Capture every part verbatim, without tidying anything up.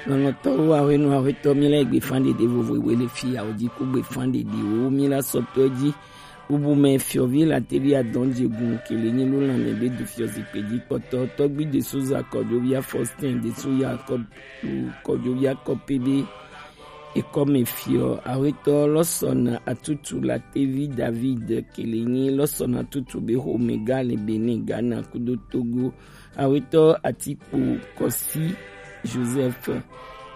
Lɔlɔ̃tɔwo, ahwenu ahwetɔ, mi la egbe fan ɖeɖe vovo we le fi ya o ji ku gbe fan ɖeɖe wo mi la sɔtɔ ji. Bubu me fiɔvi la tevi adɔn je gun kele nyi lo lanme be du fiɔ zikpe ji kpɔtɔ tɔgbi de so za kɔjovia Faustin de so ya kɔ-, kɔjovia kɔpe be ekɔ me fiɔ ahwetɔ lɔsɔn atutu la tevi David kele nyi lɔsɔn atutu be xome ga le Benin, Ghana kudo Togo. Awetɔ Atikpo Kɔsi Joseph,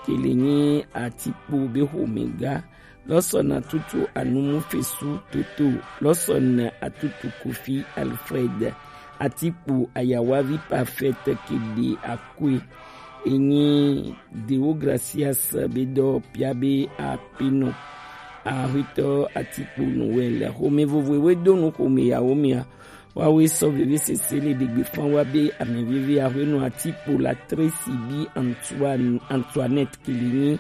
kele nyi Atikpo be xomɛga, lɔsɔna tutu Anumu Fesu Toto, lɔsɔna atutu Kofi Alfred, Atikpo ayawavi Parfait kede akue, enyi Deogracias be dɔ pia be akpenɔ, Awetɔ Atikpo Noël, xome vovoe we do nu xome yawo mia, Wawe sɔ veve sese le ɖegbe fan wa be ame veve Ahwenu Atikpo la Tracy bi Antoine, Antoinette kele nyi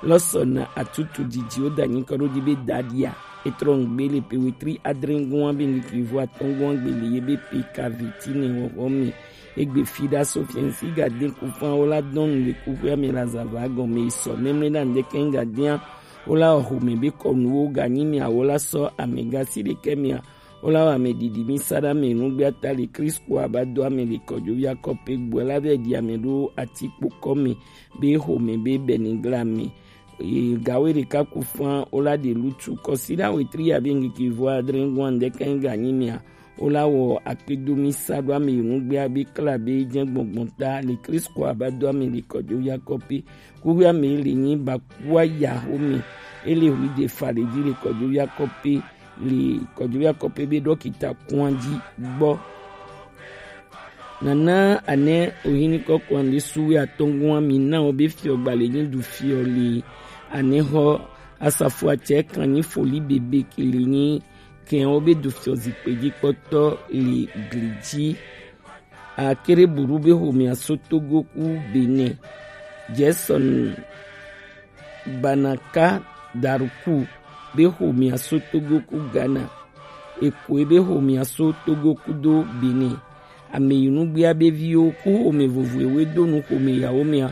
lɔsɔna atutu didi wo da nyi kɔ ɖo di be dadia. Etrɔ ŋgbe le pe wetri adre ŋgɔn be ŋgikli vo atɔn ŋgɔn gbe le ye be pe ka veti ne wɔwɔ me. Egbe fi ɖa so fiɛnsi ga de ku fan wo la dɔn le kuxia me la zava gɔme sɔ mɛmɛ ɖa ŋdɛkɛ ŋga dia wo la xome be kɔnuwo ga nyi mia wo la sɔ amega si ɖekɛ mia Wo la wɔ ame ɖiɖi mi sa ɖe ame nugbe ata le Kristo aba do ame le kɔdzovi akɔpe gbɔ la vɛ ɖi ame ɖo atikpo kɔme be xome be bɛnigla me. Eye gawe ɖeka ku fan wo la ɖe lutu kɔsi ɖa wetri ya be ŋkeke vo adre ŋgɔn ŋdɛkɛ ŋga nyi mia wo la wɔ akpedo mi sa ɖo ame yi nugbea be kla be jɛ gbɔngbɔn ta le Kristo aba do ame le kɔdzovi akɔpe kuxi ame le nyi ba kua ya xome ele hui de fa le dzi le kɔdzovi akɔpe le kɔdzovi akɔpe be ɖɔkita kɔn dzi gbɔ. Nana ane ohini kɔkɔn le suwe atɔngɔn mi na wo be fiɔ gba le nyi du fiɔ le ane xɔ asafo atsɛ kan nyi foli bebe ke le nyi kɛn wo be du fiɔ zikpe dzi kpɔtɔ le gli dzi. Akere buru be xomea so Togo ku Benin. Jason Banaka Daruku be xomea so Togo ku Ghana. Ekoe be xomea so Togo kudo Benin. Ame yi nugbea be viwo ku xome vovoewo do nu xome yawo mea.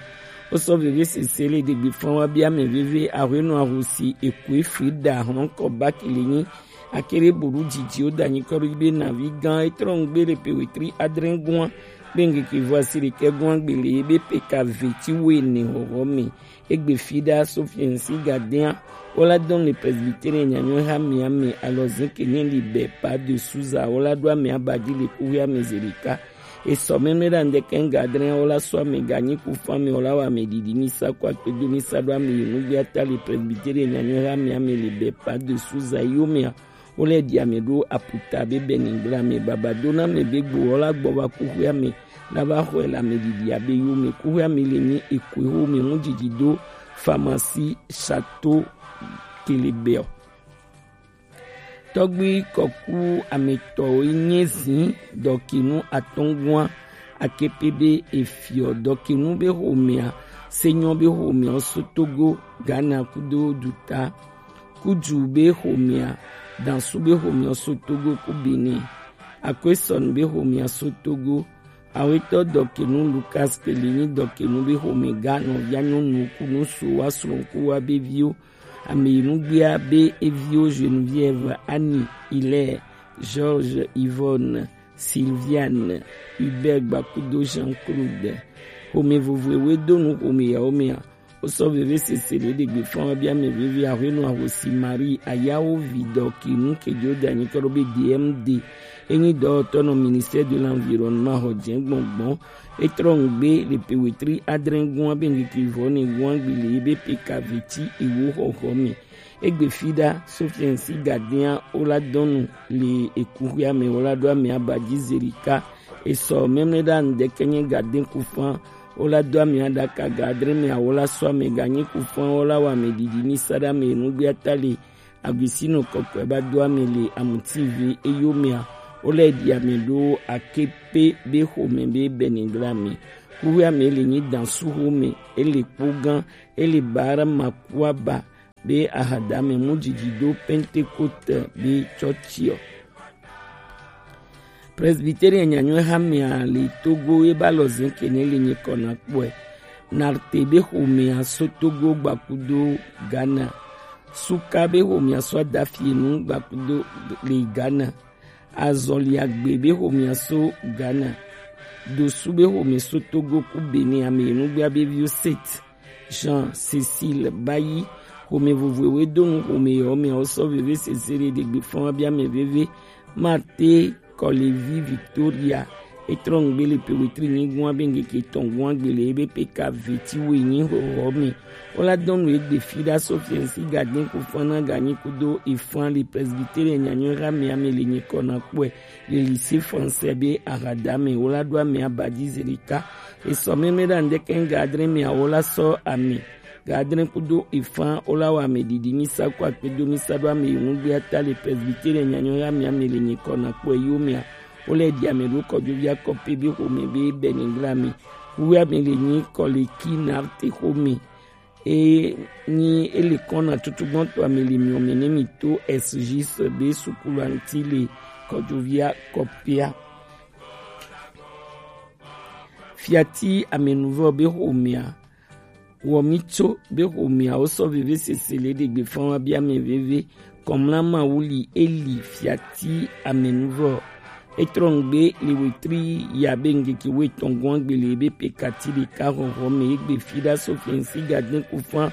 Wo sɔ veve sese le degbe fan wa be ame veve Ahwenu Ahosi Ekoe Frida Hɔnkɔ Bakele nyi. Akere buru didi wo da nyi kɔ ɖo be navi gan etrɔ ŋgbe le pe wetri adre ŋgɔn be ŋkeke vo asi ɖekɛ gɔn gbe le ye be pe ka veti wo ene xɔxɔ me. Egbe fi ɖa so fiɛnsi gadea wo la dɔn le presbytere nyanyɔ ha mia me alɔ zin ke nye li bɛ pa de suza wo la ɖo ame aba dzi le kuxi ame ze ɖeka. Esɔ mɛmɛ ɖa ŋdɛkɛ ŋga adre wo la sɔ ame ganyi ku fan me wo la wɔ ame ɖiɖi mi sa ko akpedo mi sa ɖo ame yi nugbe ata le presbytere nyanyɔ ha mia me le bɛ pa de suza yo mea. Wo lɛ ɖi ame ɖo aputa be bɛ ni gbla me baba do na me be gbo wo la gbɔ va kuxi ame la va xɔe le ame ɖiɖi abe yo me kuxi ame le nyi ekoe xome ŋu didi do pharmacie château kelebɛ. Tɔgbi kɔku ametɔwo nye zi dɔkinu atɔngua akepe be efiɔ dɔkinu be xomea senyɔ be xomea so Togo Ghana kudo duta kudu be xomea dansu be xomea so Togo ku Benin akwesɔn be xomea so Togo awetɔ dɔkinu Lucas kele nyi dɔkinu be xomega nɔvia nyɔnu kunu so wa srɔ̃ku wa be viwo Ame yi nugbea be eviwo Geneviève, Annie, Hilaire, Georges, Yvonne, Sylviane, Hubert Gbakudo, Jean-Claude. Xome vovoewoe do nu xome yawo mea. Wosɔ veve sese le ɖegbe fɔn wa be ame veve Aƒenɔ Ahosi Marie Ayawo vi dɔ ki nu ke dzo da nyi kɔ ɖo be D M D. Enyi dɔwɔtɔ nɔ Ministère de l'Environnement xɔ jɛ gbɔngbɔn. Etrɔ ŋgbe le pe wetri adre gua be ŋkeke vɔ ne gua gbi le ebe pe ka veti ewo xɔxɔ me. Egbe fi ɖa Sofiɛnsi gadea wo la dɔnu le ekuxia me wo la ɖo ame aba dzi zerika. Esɔ mɛmlɛ ɖa ŋdɛkɛ nye gade kufan wo la do ame aɖaka ga adre me awo la sɔ ame ganyi kufan wo la wɔ ame ɖiɖi mi sa ɖe ame nugbea ta le Agusino kɔkɔe ba do ame le amuti vi eyomea. Wo lɛ ɖi ame ɖo akepe be xome be bɛnigla me. Kuxia me le nyi dansu xome, ele kpogan, ele bara makuaba be ahadame mu didi do Pentecote be tsɔtsiɔ. Presbyterian nyanyɔe hamea le Togo ye ba lɔ zin kene le nye kɔna kpɔe. Narte be xomea so Togo gbakudo Ghana. Suka be xomea so Adafienu gbakudo le Ghana. Azɔliagbe be xomea so Ghana. Dosu be xome so Togo ku Benin ame enugbea be vio set. Jean Cécile Bayi, xome vovoewe donu xome yɔ mea wo sɔ veve sese le ɖegbe fɔn wa bia mɛ veve. Marte Kɔlevi Victoria, etrɔ ŋgbe le pe wetri nyigun abe ŋgeke tɔn gun agbe le ebe pe ka veti we nyi xɔxɔ me. Wo la dɔn nu egbe fi ɖa so fiɛnsi gadin ku fana ganyi kudo ifan le presbytere nyanyɔ ha me ame le nyi kɔna kpɔe le lycée français be ahada me. Wo la ɖo ame abadi zelika. Esɔ mɛmɛ ɖa ŋdɛkɛ ŋga adre me awo la sɔ ame. Ga adre kudo ifan wo la wa ame didi mi sa ko akpedo mi sa ɖo ame yi ŋugbe ata le presbytere nyanyɔ ya mi ame le nyi kɔna kpɔe yo mea. Wo lɛ ɖi ame ɖo kɔdzovi akɔpe be xome be bɛnigla mi. Kuwe ame le nyi kɔleki narte xome. E nyi ele kɔna tutugbɔntɔ ame le miɔ me ne mi to S J S be sukulu aŋti le kɔdzovi akɔpea. Fiati amenuvɔ be xomea. Wɔmitso be xomea wo sɔ veve sese le ɖegbe fɔn wa bia mɛ veve. Kɔmla ma wuli eli fiati amenuvɔ. Etrɔ ŋgbe le wetri ya be ŋgeke wetɔn gɔn agbele be pe kati ɖeka xɔxɔ me egbe fi ɖa so fiɛnsi gadin ku fan.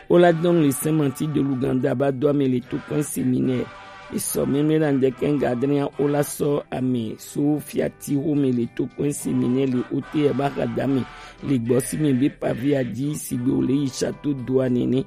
Wo la dɔn le sɛmanti de luganda ba do ame le to kɔn seminɛ. Esɔ mɛmɛ la ŋdɛkɛ ŋga adrɛn wo la sɔ ame so fiati xome le to kɔn seminɛ le ote ya ba xa da me le gbɔ si me be pavi adi sigbe wo le yi château d'eau nene.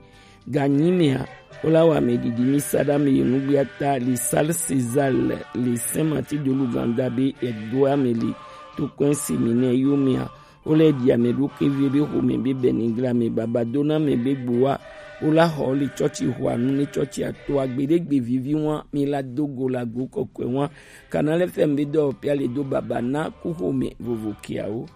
Ganyi mea wo la wa ame didi mi sa ɖa me ye nugbe ata le salle César le sɛmanti de luganda be edo ame le to kɔn seminɛ yo mea. Wo lɛ ɖi ame ɖo kevie be xome be bɛnigla me baba do na me be gbowa. Wo la xɔ le tsɔtsi xɔa nu ne tsɔtsi ato agbe ɖe gbe vivi wa mi la do go la go kɔkɔe wa. Kana lɛ fɛ mi be dɔ pia le do baba na ku xome vovo kiawo.